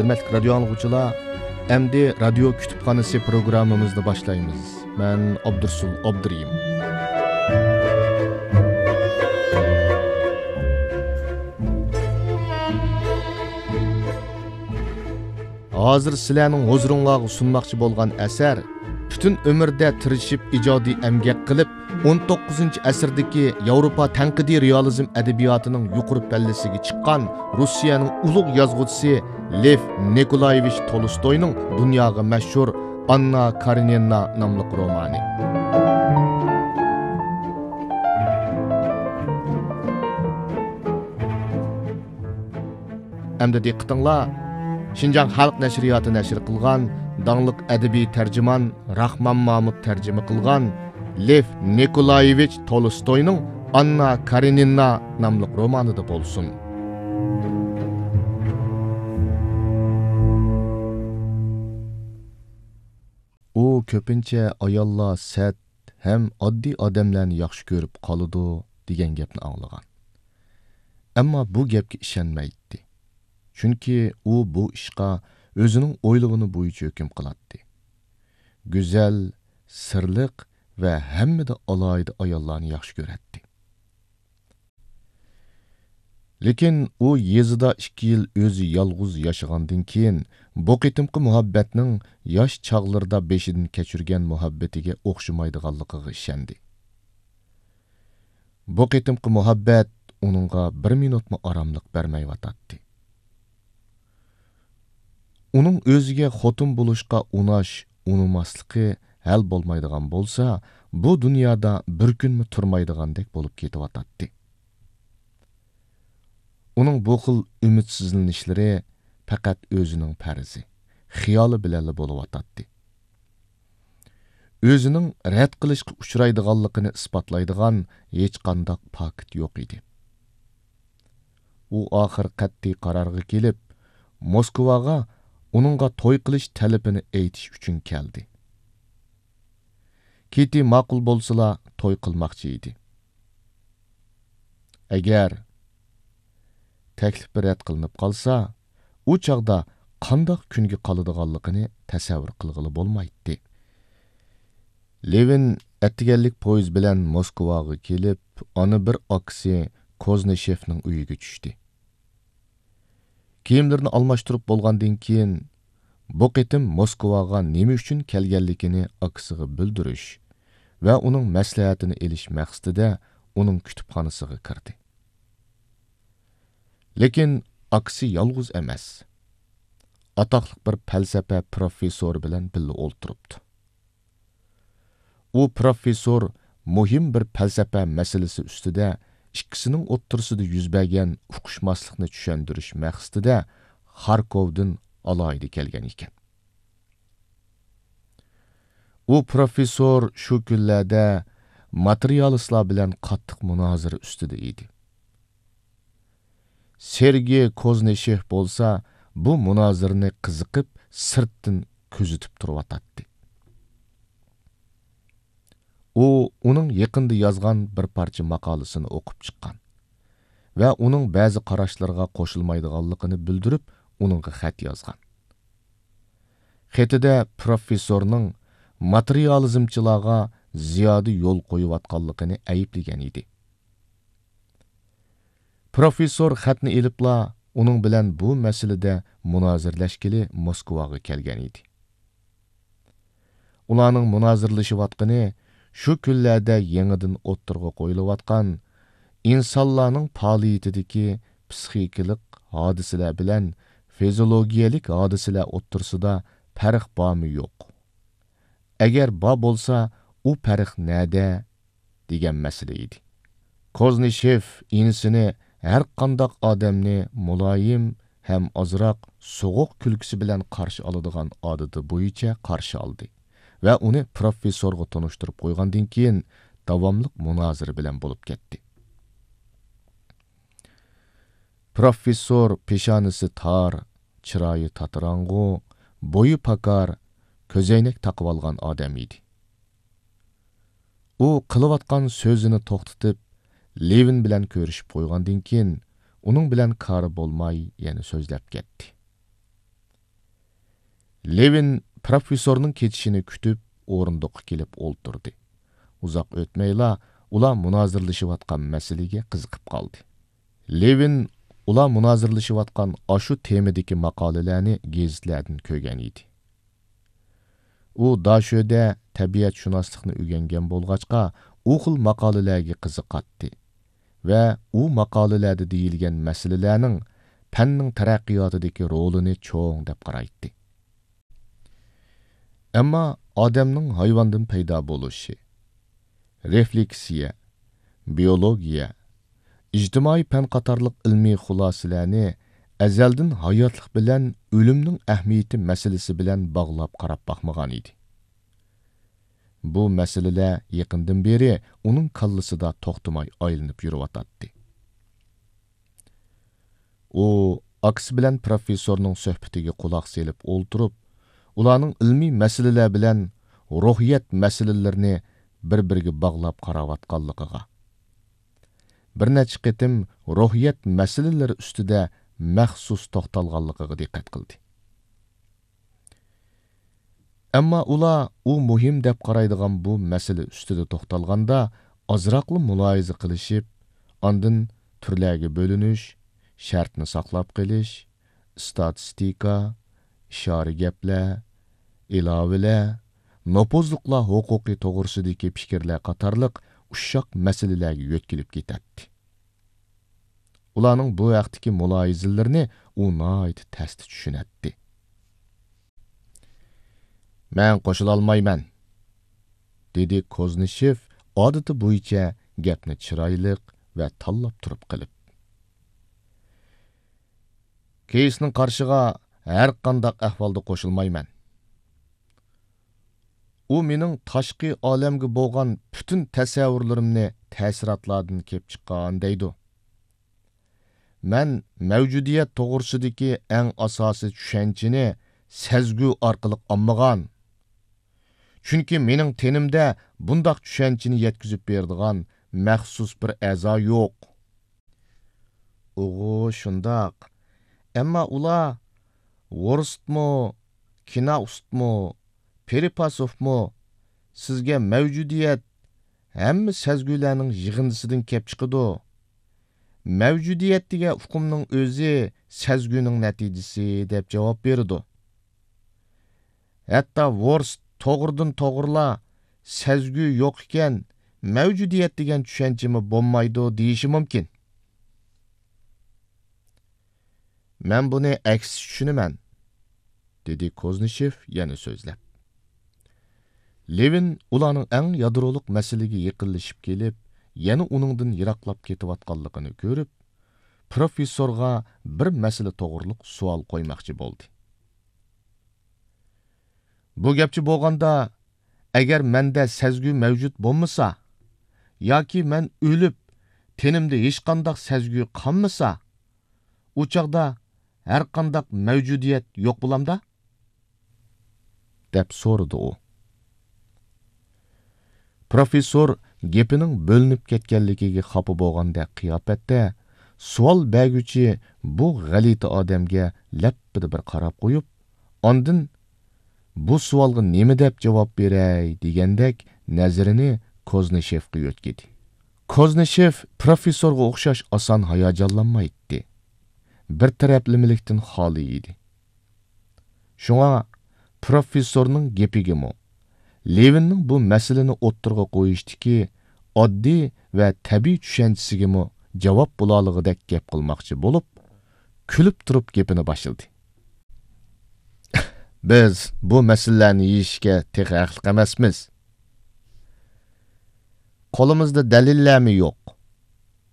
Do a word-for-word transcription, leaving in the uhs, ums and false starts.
ھۆرمەتلىك رادىيو ئاڭلىغۇچىلار، ئەمدى رادىيو كۇتۇپخانىسى پروگراممىمىزنى باشلايمىز. مەن ئابدۇرسۇل ئابدۇرېھىم. ھازىر سىلەرنىڭ ھۇزۇرۇڭلارغا سۇنماقچى بولغان ئەسەر پۈتۈن ئۆمرىدە تىرىشىپ ئىجادىي ئەمگەك قىلىپ، ئون توققۇزىنچى ئەسىردىكى ياۋروپا تەنقىدىي رېئالىزم ئەدەبىياتىنىڭ يۇقىرى پەللىسىگە چىققان روسىيەنىڭ ئۇلۇغ يازغۇچىسى لېف نىكولايېۋىچ تولستوينىڭ دۇنياغا مەشھۇر ئاننا كارېنىنا ناملىق رومانى. ئەمدى دىققىتىڭلار، شىنجاڭ خەلق نەشرىياتى نەشر قىلغان داڭلىق ئەدەبىي تەرجىمان راخمان مامۇت تەرجىمە قىلغان لېف نىكولايېۋىچ تولستوينىڭ ئاننا كارېنىنا ناملىق رومانىدا بولسۇن. ئۇ كۆپىنچە ئاياللار سەت ھەم ئاددىي ئادەملەرنى ياخشى كۆرۈپ قالىدۇ دېگەن گەپنى ئاڭلىغان. ئەمما بۇ گەپكە ئىشەنمەيتتى. چۈنكى ئۇ بۇ ئىشقا ئۆزىنىڭ ئويلىغىنى بويىچە ھۆكۈم قىلاتتى. گۈزەل، سىرلىق ۋە ھەممىدە ئالاھىدە ئاياللارنى ياخشى كۆرەتتى. لېكىن ئۇ يېزىدا ئىككى يىل ئۆزى يالغۇز ياشىغاندىن كېيىن، بۇ قېتىمقى مۇھەببەتنىڭ ياش چاغلىرىدا بېشىدىن كەچۈرگەن مۇھەببىتىگە ئوخشىمايدىغانلىقىغا ئىشەندى. بۇ قېتىمقى مۇھەببەت ئۇنىڭغا بىر مىنۇتمۇ ئاراملىق بەرمەيۋاتاتتى. ئۇنىڭ ئۆزىگە خوتۇن بولۇشقا ئۇناش، ئۇنىماسلىقى ھەل بولمايدىغان بولسا، بۇ دۇنيادا بىر كۈنمۇ تۇرمايدىغاندەك بولۇپ كېتىۋاتاتتى. ئۇنىڭ بۇ خىل ئۈمىدسىزلىنىشلىرى پەقەت ئۆزىنىڭ پەرىزى، خىيالى بىلەنلا بولۇۋاتاتتى. ئۆزىنىڭ رەت قىلىشقا ئۇچرايدىغانلىقىنى ئىسپاتلايدىغان ھېچقانداق پاكىت يوق ئىدى. ئۇ ئاخىر قەتئىي قارارغا كېلىپ، موسكۋاغا ئۇنىڭغا توي قىلىش تەلىپىنى ئېيتىش ئۈچۈن كەلدى. كىتى ماقۇل بولسىلا توي قىلماقچى ئىدى. ئەگەر تەكلىپى رەت قىلىنىپ قالسا، ئۇ چاغدا قانداق كۈنگە قالىدىغانلىقىنى تەسەۋۋۇر قىلغىلى بولمايتتى. لېۋىن ئەتىگەنلىك پويىز بىلەن موسكۋاغا كېلىپ، ئانا بىر ئاكىسى كوزنىشېفنىڭ ئۆيىگە چۈشتى. كىيىملىرىنى ئالماشتۇرۇپ بولغاندىن كېيىن، بۇ قېتىم موسكۋاغا نېمە ئۈچۈن كەلگەنلىكىنى ئاكىسىغا بىلدۈرۈش ۋە ئۇنىڭ مەسلىھەتىنى ئېلىش مەقسىتىدە ئۇنىڭ كۇتۇپخانىسىغا كىردى. لېكىن ئاكىسى يالغۇز ئەمەس، ئاتاقلىق بىر پەلسەپە پروفېسسورى بىلەن بىللە ئولتۇرۇپتۇ. ئۇ پروفېسسور مۇھىم بىر پەلسەپە مەسىلىسى ئۈستىدە ئىككىسىنىڭ ئوتتۇرىسىدا يۈز بەرگەن ئۇقۇشماسلىقنى چۈشەندۈرۈش مەقسىتىدە خاركوۋدىن ئالاھىدە كەلگەن ئىكەن. ئۇ پروفېسسور شۇ كۈنلەردە ماتېرىيالىستلار بىلەن قاتتىق مۇنازىرە ئۈستىدە ئىدى. سېرگېي كوزنىشېف بولسا بۇ مۇنازىرىنى قىزىقىپ، سىرتتىن كۆزىتىپ تۇرۇۋاتاتتى. ئۇ ئۇنىڭ يېقىندا يازغان بىر پارچە ماقالىسىنى ئوقۇپ چىققان ۋە ئۇنىڭ بەزى قاراشلىرىغا قوشۇلمايدىغانلىقىنى بىلدۈرۈپ، ئۇنىڭغا خەت يازغان. خېتىدە پروفېسسورنىڭ ماتېرىيالىزمچىلارغا زىيادە يول قويۇۋاتقانلىقىنى ئەيىبلىگەن ئىدى. پروفېسسور خەتنى ئېلىپلا، ئۇنىڭ بىلەن بۇ مەسىلىدە مۇنازىرىلەشكىلى موسكۋاغا كەلگەن ئىدى. ئۇلارنىڭ مۇنازىرىلىشىۋاتقىنى شۇ كۈنلەردە يېڭىدىن ئوتتۇرىغا قويۇلۇۋاتقان ئىنسانلارنىڭ پائالىيىتىدىكى پسىخىكىلىق ھادىسىلەر بىلەن فىزىولوگىيەلىك ھادىسىلەر ئوتتۇرىسىدا پەرق بارمۇ يوق؟ ئەگەر بار بولسا، ئۇ پەرق نەدە؟ دېگەن مەسىلە ئىدى. كوزنىشېف ئىنىسىنى ھەرقانداق ئادەمنى مۇلايىم ھەم ئازراق سوغۇق كۈلكىسى بىلەن قارشى ئالىدىغان ئادىتى بويىچە قارشى ئالدى ۋە ئۇنى پروفېسسورغا تونۇشتۇرۇپ قويغاندىن كېيىن، داۋاملىق مۇنازىرە بىلەن بولۇپ كەتتى. پروفېسسور پېشانىسى تار، چىرايى تاتىراڭغۇ، بويى پاكار، كۆزەينەك تاقىۋالغان ئادەم ئىدى. ئۇ قىلىۋاتقان سۆزىنى توختىتىپ، لېۋىن بىلەن كۆرۈشۈپ قويغاندىن كېيىن، ئۇنىڭ بىلەن كارى بولماي يەنە سۆزلەپ كەتتى. لېۋىن پروفېسسورنىڭ كېتىشىنى كۈتۈپ، ئورۇندۇققا كېلىپ ئولتۇردى. ئۇزاق ئۆتمەيلا ئۇلار مۇنازىرىلىشىۋاتقان مەسىلىگە قىزىقىپ قالدى. لېۋىن ئۇلار مۇنازىرىلىشىۋاتقان ئاشۇ تېمىدىكى ماقالىلەرنى گېزىتلەردىن كۆرگەن ئىدى. ئۇ داشۆدە تەبىئەتشۇناسلىقنى ئۆگەنگەن بولغاچقا، ئۇ خىل ماقالىلەرگە قىزىقاتتى ۋە ئۇ ماقالىلەردە دېيىلگەن مەسىلىلەرنىڭ پەننىڭ تەرەققىياتىدىكى رولىنى چوڭ دەپ قارايتتى. ئەمما ئادەمنىڭ ھايۋاندىن پەيدا بولۇشى، رېفلېكسىيە، بىيولوگىيە، ئىجتىمائىي پەن قاتارلىق ئىلمىي خۇلاسىلەرنى ئەزەلدىن ھاياتلىق بىلەن ئۆلۈمنىڭ ئەھمىيىتى مەسىلىسى بىلەن باغلاپ قاراپ باقمىغان ئىدى. بۇ مەسىلىلەر يېقىندىن بېرى ئۇنىڭ كاللىسىدا توختىماي ئايلىنىپ يۈرۈۋاتاتتى. ئۇ ئاكىسى بىلەن پروفېسسورنىڭ سۆھبىتىگە قۇلاق سېلىپ ئولتۇرۇپ، ئۇلارنىڭ ئىلمىي مەسىلىلەر بىلەن روھىيەت مەسىلىلىرىنى بىر-بىرىگە باغلاپ قاراۋاتقانلىقىغا، بىر نەچچە قېتىم روھىيەت مەسىلىلىرى ئۈستىدە مەخسۇس توختالغانلىقىغا دىققەت قىلدى. ئەمما ئۇلار ئۇ مۇھىم دەپ قارايدىغان بۇ مەسىلە ئۈستىدە توختالغاندا، ئازراقلا مۇلاھىزە قىلىشىپ، ئاندىن تۈرلەرگە بۆلۈنۈش، شەرتنى ساقلاپ قېلىش، ئىستاتىستىكا، ئىشارە گەپلەر، ئىلاۋىلەر، نوپۇزلۇقلار ھوقۇقى توغرىسىدىكى پىكىرلەر قاتارلىق ئۇششاق مەسىلىلەرگە يۆتكىلىپ كېتەتتى. ئۇلارنىڭ بۇ ھەقتىكى مۇلاھىزىلىرىنى ئۇ ناھايىتى تەستە چۈشىنەتتى. «مەن قوشۇلالمايمەن،» دېدى كوزنىشېف ئادىتى بويىچە گەپنى چىرايلىق ۋە تاللاپ تۇرۇپ قىلىپ. «كېيسنىڭ قارىشىغا ھەر قانداق ئەھۋالدا قوشۇلمايمەن. ئۇ مېنىڭ تاشقى ئالەمگە بولغان پۈتۈن تەسەۋۋۇرلىرىمنى تەسىراتلاردىن كېلىپ چىققان دەيدۇ. مەن مەۋجۇدىيەت توغرىسىدىكى ئەڭ ئاساسىي چۈشەنچىنى سەزگۈ ئارقىلىق ئاڭلىغان. چۈنكى مېنىڭ تېنىمدە بۇنداق چۈشەنچىنى يەتكۈزۈپ بېرىدىغان مەخسۇس بىر ئەزا يوق.» «ئۇغۇ، شۇنداق. ئەمما ئۇلار، ۋورستمۇ، كىناۋستمۇ، پېرىپاسوفمۇ سىزگە مەۋجۇدىيەت ھەممە سەزگۈلەرنىڭ يىغىندىسىدىن كەپ چىقىدۇ. مەۋجۇدىيەت دېگەن ئۇقۇمنىڭ ئۆزى سەزگۈنىڭ نەتىجىسى، دەپ جاۋاب بېرىدۇ. ھەتتا ۋورست توغرىدىن توغرىلا سەزگۈ يوق ئىكەن، مەۋجۇدىيەت دېگەن چۈشەنچىمۇ بولمايدۇ دېيىشى مۇمكىن.» «مەن بۇنى ئەكسىچە چۈشىنىمەن،» دېدى كوزنىشېف يەنە سۆزلەپ. لېۋىن ئۇلارنىڭ ئەڭ يادرولۇق مەسىلىگە يېقىنلىشىپ كېلىپ، يەنە ئۇنىڭدىن يىراقلاپ كېتىۋاتقانلىقىنى كۆرۈپ، پروفېسسورغا بىر مەسىلە توغرۇلۇق سوئال قويماقچى بولدى. «بۇ گەپچە بولغاندا، ئەگەر مەندە سەزگۈ مەۋجۇت بولمىسا، ياكى مەن ئۆلۈپ، تېنىمدە ھېچقانداق سەزگۈ قالمىسا، ئۇ چاغدا ھەرقانداق مەۋجۇدىيەت يوق بولامدا؟» دەپ سورىدى ئۇ. پروفېسسور گېپىنىڭ بۆلۈنۈپ كەتكەنلىكىگە خاپا بولغاندەك قىياپەتتە سوئال بەرگۈچى بۇ غەلىتە ئادەمگە لەپپىدە بىر قاراپ قويۇپ، ئاندىن «بۇ سوئالغا نېمە دەپ جاۋاب بېرەي؟» دېگەندەك نەزىرىنى كوزنىشېفقا يۆتكىدى. كوزنىشېف پروفېسسورغا ئوخشاش ئاسان ھاياجانلانمايتتى. بىر تەرەپلىمىلىكتىن خالىي ئىدى. شۇڭا پروفېسسورنىڭ گېپىگىمۇ، لېۋىننىڭ بۇ مەسىلىنى ئوتتۇرىغا قويۇشتىكى ئاددىي ۋە تەبىئىي چۈشەنچىسىگىمۇ جاۋاب بولالىغۇدەك گەپ قىلماقچى بولۇپ، كۈلۈپ تۇرۇپ گېپىنى باشلىدى. «بىز بۇ مەسىلىلەرنى يېشىشكە تېخى ھەقلىق ئەمەسمىز. قولىمىزدا دەلىللەرمۇ يوق.